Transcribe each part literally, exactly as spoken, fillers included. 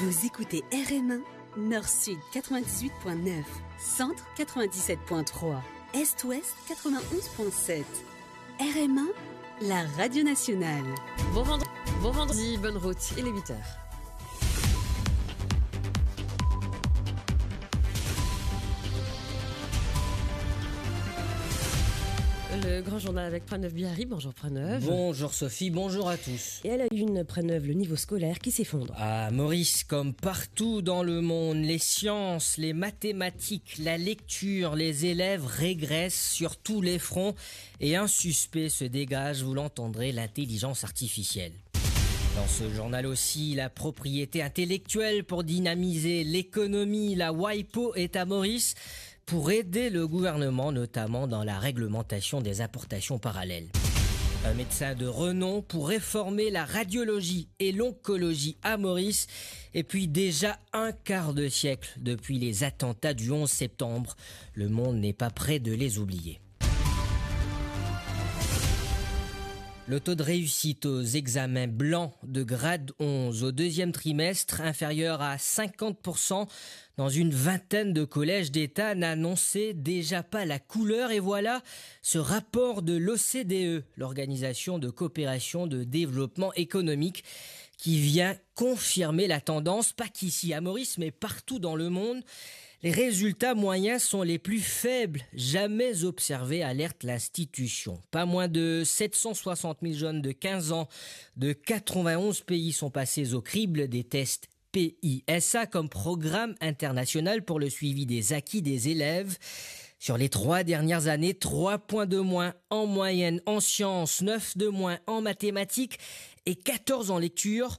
Vous écoutez R M un, Nord-Sud quatre-vingt-dix-huit point neuf, Centre quatre-vingt-dix-sept point trois, Est-Ouest quatre-vingt-onze point sept. R M un, la radio nationale. Bon vendre-, bon vendredi, bonne route, il est huit heures. Le grand journal avec Pranov Bihari. Bonjour Pranov. Bonjour Sophie, bonjour à tous. Et à la une, Pranov, le niveau scolaire qui s'effondre. À Maurice, comme partout dans le monde, les sciences, les mathématiques, la lecture, les élèves régressent sur tous les fronts et un suspect se dégage, vous l'entendrez, l'intelligence artificielle. Dans ce journal aussi, la propriété intellectuelle pour dynamiser l'économie. La WIPO est à Maurice pour aider le gouvernement, notamment dans la réglementation des importations parallèles. Un médecin de renom pour réformer la radiologie et l'oncologie à Maurice. Et puis, déjà un quart de siècle depuis les attentats du onze septembre, le monde n'est pas près de les oublier. Le taux de réussite aux examens blancs de grade onze au deuxième trimestre inférieur à cinquante pour cent dans une vingtaine de collèges d'État, n'annonçait déjà pas la couleur. Et voilà ce rapport de l'O C D E, l'Organisation de coopération de développement économique, qui vient confirmer la tendance, pas qu'ici à Maurice, mais partout dans le monde. Les résultats moyens sont les plus faibles jamais observés, alerte l'institution. Pas moins de sept cent soixante mille jeunes de quinze ans de quatre-vingt-onze pays sont passés au crible des tests P I S A, comme programme international pour le suivi des acquis des élèves. Sur les trois dernières années, trois points de moins en moyenne en sciences, neuf de moins en mathématiques et quatorze en lecture.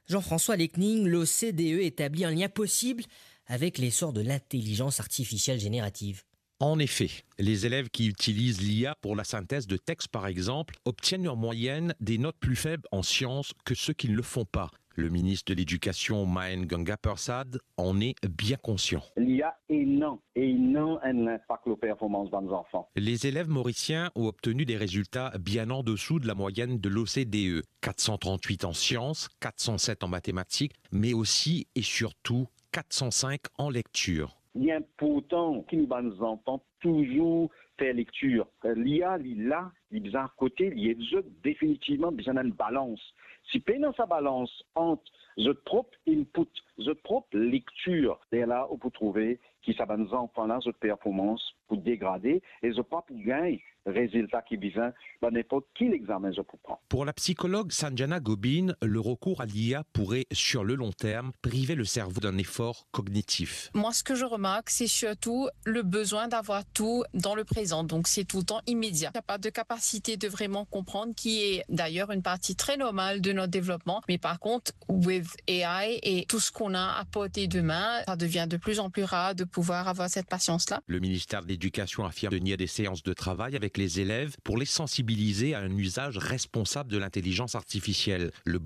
Jean-François Lecning, l'O C D E établit un lien possible avec l'essor de l'intelligence artificielle générative. En effet, les élèves qui utilisent l'I A pour la synthèse de textes, par exemple, obtiennent en moyenne des notes plus faibles en sciences que ceux qui ne le font pas. Le ministre de l'Éducation, Mahen Ganga Persad, en est bien conscient. L'I A ena, ena enn linpak lor performans bann zanfan. Les élèves mauriciens ont obtenu des résultats bien en dessous de la moyenne de l'O C D E, quatre cent trente-huit en sciences, quatre cent sept en mathématiques, mais aussi et surtout quatre cent cinq en lecture. Li inportan ki nou bann zanfan touzour fer lektir. L'I A, li la, li bizin akote, li ed zot, definitivman bizin enn balans. Si pena sa balans ant zot prop input, zot prop lektir, lerla ou pou trouve ki sa bann zanfan la, zot performans pou degrade e zot pa pou gagn rezilta ki bizin dan ninport ki lexamen zot pou pran. Pour la psychologue Sanjana Gobin, le recours à l'I A pourrait, sur le long terme, priver le cerveau d'un effort cognitif. Moi, ce que je remarque, c'est surtout le besoin d'avoir tout dans le présent. Donc, c'est tout le temps immédiat. Il n'y a pas de capacité de vraiment comprendre, qui est d'ailleurs une partie très normale de notre développement. Mais par contre, with A I et tout ce qu'on a à portée de main, ça devient de plus en plus rare de pouvoir avoir cette patience-là. Le ministère de l'Éducation affirme tenir des séances de travail avec les élèves pour les sensibiliser à un usage responsable de l'intelligence artificielle. Le